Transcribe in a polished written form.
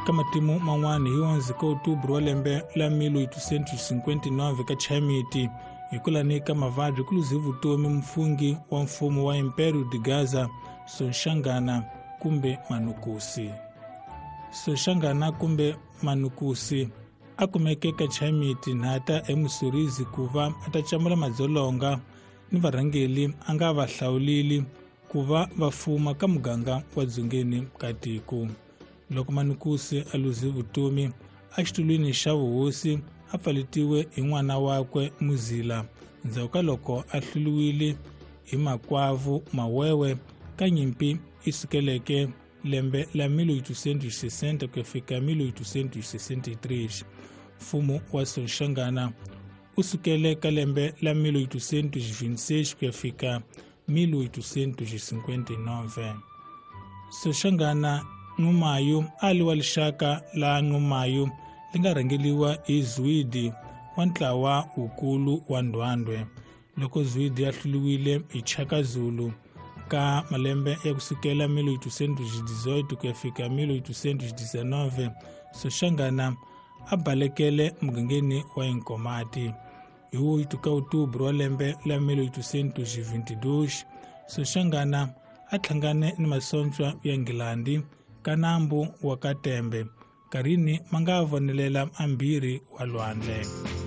Ka matimu man'wana hi 11 ka outubro wa lembe la 1859 ka Chaimiti hi kulani ka mavabyi ku luze vutomi mufungi wa mfumo wa Império de Gaza Soshangana kumbe Manukusi. Soshangana kumbe Manukusi a kumeke ka Chaimiti nhata eMusorizi ku va a ta camula madzolonga ni varhangeli a nga va hlawulili ku va va fuma ka muganga wa dzongeni ka tiko. Loko Manukusi a luze vutomi exitulwini xa vuhosi a pfaletiwe hi n'wana wakwe Muzila ndzhaku ka loko a hluriwile hi makwavu Mawewe ka nyimpi yi sukeleke lembe la 1860 ku ya fika 1863. Mfumo wa Soshangana u sukele ka lembe la 1826 ku ya fika 1859. Soshangana Nxumalo a li wa lixaka la Nxumalo li nga rhangeliwa hi Zwidi wa ntlawa wukulu wa Ndwandwe. Loko Zwidi a hluriwile hi Chaka Zulu ka malembe ya kusukela 1818 ku ya fika 1819, Soshangana a balekele mugangeni wa Inkomati. Hi 8 ka outubro wa lembe la 1822, Soshangana a hlangane ni masocha ya Nghilandi ka nambu wa Katembe, karini ma nga vonelela ambirhi wa lwandle.